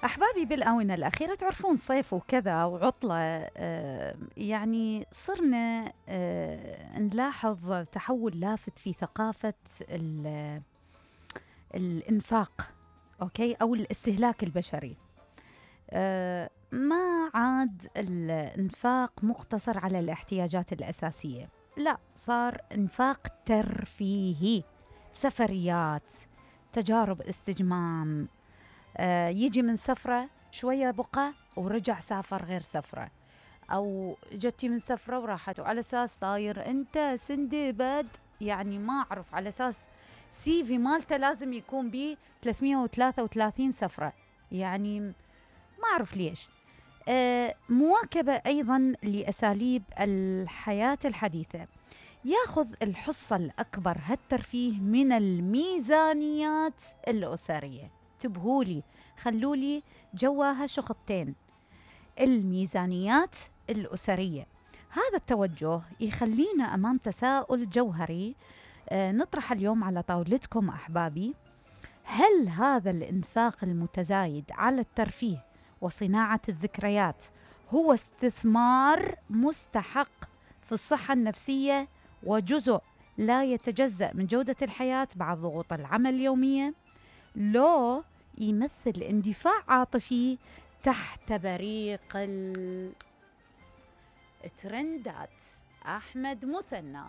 أحبابي، بالآونة الأخيرة تعرفون صيف وكذا وعطلة، يعني صرنا نلاحظ تحول لافت في ثقافة الإنفاق، أوكي، أو الاستهلاك البشري. ما عاد الإنفاق مقتصر على الاحتياجات الأساسية، لا، صار إنفاق ترفيهي، سفريات، تجارب استجمام. يجي من سفرة شوية بقى ورجع سافر غير سفرة، أو جتي من سفرة وراحت، وعلى أساس صاير أنت سندباد، يعني ما أعرف، على أساس CV مالته لازم يكون بيه 333 سفرة، يعني ما أعرف ليش. مواكبة أيضا لأساليب الحياة الحديثة، ياخذ الحصة الأكبر هالترفيه من الميزانيات الأسرية. انتبهولي، خلولي جواها شخطين، الميزانيات الأسرية. هذا التوجه يخلينا أمام تساؤل جوهري نطرح اليوم على طاولتكم أحبابي: هل هذا الإنفاق المتزايد على الترفيه وصناعة الذكريات هو استثمار مستحق في الصحة النفسية وجزء لا يتجزأ من جودة الحياة بعد ضغوط العمل اليومية، لو يمثل اندفاع عاطفي تحت بريق الترندات؟ أحمد مثنى.